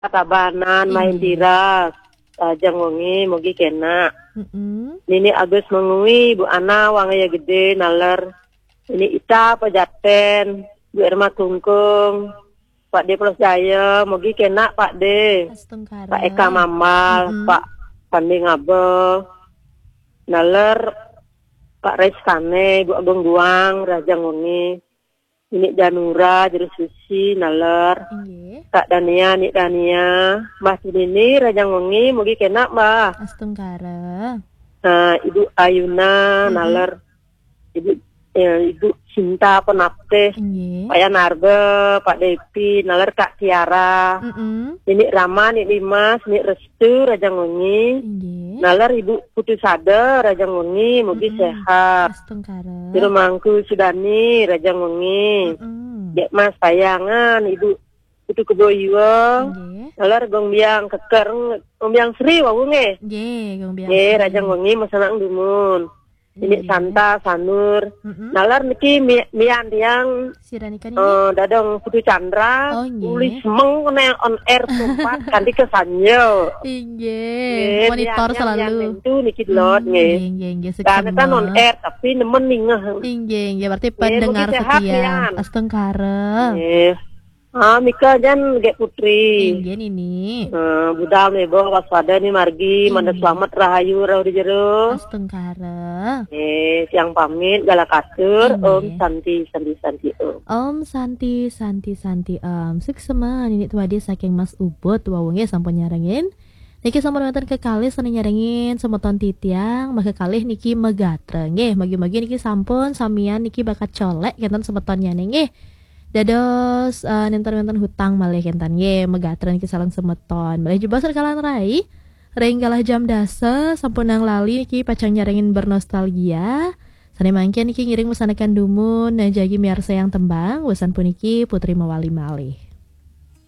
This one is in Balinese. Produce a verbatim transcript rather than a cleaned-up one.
Tabanan, Main Tiras, Rajang Wengi, mugi kena. Mm-mm. Nini Agus Mengwi, Bu Ana, Wangaya Gede, naler. Ini Ita Pejaten, Bu Irma Tungkung, Pak De Plus Jaya, mugi kena Pak De. Astungkara. Pak Eka Mambal, Mm-mm. Pak Pandi Ngabel, naler Pak Reskane, Bu Agung Guang, Rajang Wengi. Ini Janura, Juru Susi, naler. Inggih. Kak Dania, Nik Dania, Mbah Tinini, Rajang Wengi, mugi kena, Mbah. Astungkara. Nah, Ibu Ayuna, Mm-mm. naler. Ibu, eh, Ibu Cinta Penaptih. Inggih. Pak Yanarba, Pak Depi, naler Kak Tiara. Mm-mm. Ini Rama, ini Dimas, ini Restu, Rajang Wengi. Inggih. Naler Ibu Putu Sada, Rajang Wengi, mugi Mm-mm. sehat. Astungkara. Juru Mangku Sudani, Rajang Wengi. Mm-mm. Dek Mas Sayangan, Ibu Putu Keboyuang. Inggih. Naler Gong Biang Keker, Gong Biang Sri, wau nggih. Nggih, Gong Biang Nggih, Sri. Rajang Wengi, masanang dumun. Ini Inggih. Santa, Sanur. Mm-mm. Naler niki mi-, mian tiang, Sira nika niki? eh, dadong Putu Chandra, Oh, nggih. Uli semeng kena on air tempat kanti kesanyo. Inggih, Nggih, monitor mian tiang, selalu. Mian tentu niki delot, Hmm, nggih. Nggih, nggih, nggih, Karena kan on suksema. Air, tapi nemen ningeh. Inggih, inggih, berarti Nggih, pendengar mugi sehat, setia. Mian. Astungkara. Nggih. Ah, Mika jan Gek Putri. Inggih, Nini. Eh, budal mebo waspada ni margi, Inggih. Manda selamat rahayu rauh di jero. Astungkara. Eh, siang pamit, gala katur, Inggih. Om Santi, Santi, Santi, Om. Om Santi, Santi, Santi, Om. Suksema, Nini Tuadi saking Mas Ubud, wau nggih sampun nyarengin. Niki sampun wonten kekalih sane nyarengin semeton titiang, maka kalih niki megatra. Nggih, magi-magi niki sampun samian niki bakat colek kenten semeton nyane nggih. Dados, eh, nenten wonten hutang malih kenten nggih, megatra niki sareng semeton. Malih jebos rekalan rai, ring galah jam dasa, sampun nang lali niki pacang nyarengin bernostalgia. Sane mangkin niki ngiring mesanakan dumun, nah jagi miarsa yang tembang, wesan puniki Putri mawali malih.